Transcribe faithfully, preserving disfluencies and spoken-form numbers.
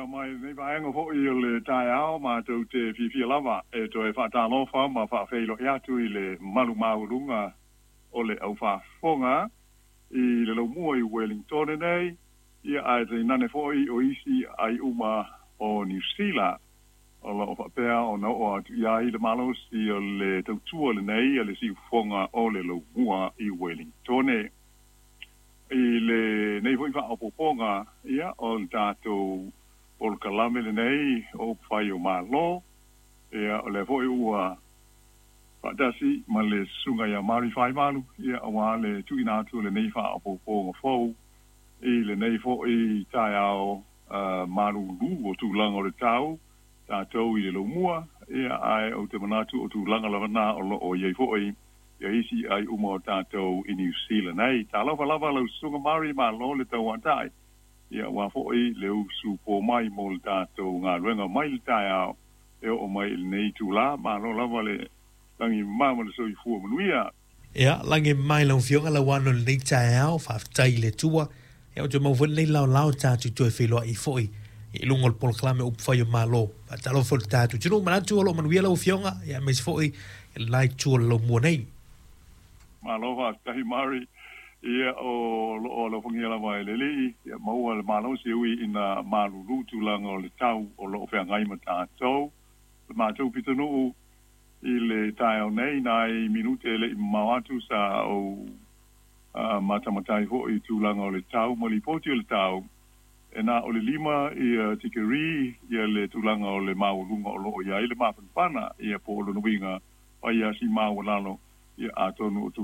Ia mai lenei vaega foʻi o le taeao, matou te fiafia lava e toe faatalofa ma faafeiloai atu i le mamalu maualuga o le aufaafofoga i le laumua i Wellington nei, ia ae tainane foʻi o isi aiuma o Niusila o loo faapea ona oo atu i ai le malosi o le tautua lenei a le siufofoga o le laumua i Wellington. I lenei foʻi faaopoopoga, ia o le tatou polokalame lenei o upufai o Malo, ia o lea foʻi ua faatasi ma le susuga ia Mari Faivalu, ia auā le tuuina atu o lenei faaopoopoga fou i lenei foʻi taeao malūlū o tulaga o le tau tatou i le laumua, ia ae ou te manatu o tulaga lava na o loo i ai foʻi ia isi aiuma o tatou i Niu Sila nei. Talofa lava lau susuga Mari, malo le tauatai, ia auā foʻi le usu po mai mo le tatou galuega mai le taeao e oo mai i lenei itulā. Malo lava le lagi mama ma le soifua manuia. Ia, lagi mai lau Afioga Lauano i lenei taeao, faafetai i le Atua. Ia, ou te maua foi lenei laolao tatou toe feiloai foi i luga o le polokalame o Upufai o Malo. Faatalofa foi i le tatou atunuu, manatu o lo o manuia lau Afioga, ia aemaise foi i le la itu o le laumua nei. Malo faafetai Mari, ia o loo alofagia lava e le Alii, ia maua le malosi e ui ina malūlū tulaga o le tau o loo feagai ma tatou. Le matou pitonuu i le taeao nei, nai minute e leʻi mamao atu sa ou matamatai foʻi i tulaga o le tau ma lipoti o le tau, e na o le lima ia tikeri ia le tulaga o le maualuga o loo i ai le mafanafana, ia po o lona uiga fai lava si maualalo, ia atonu o tulaga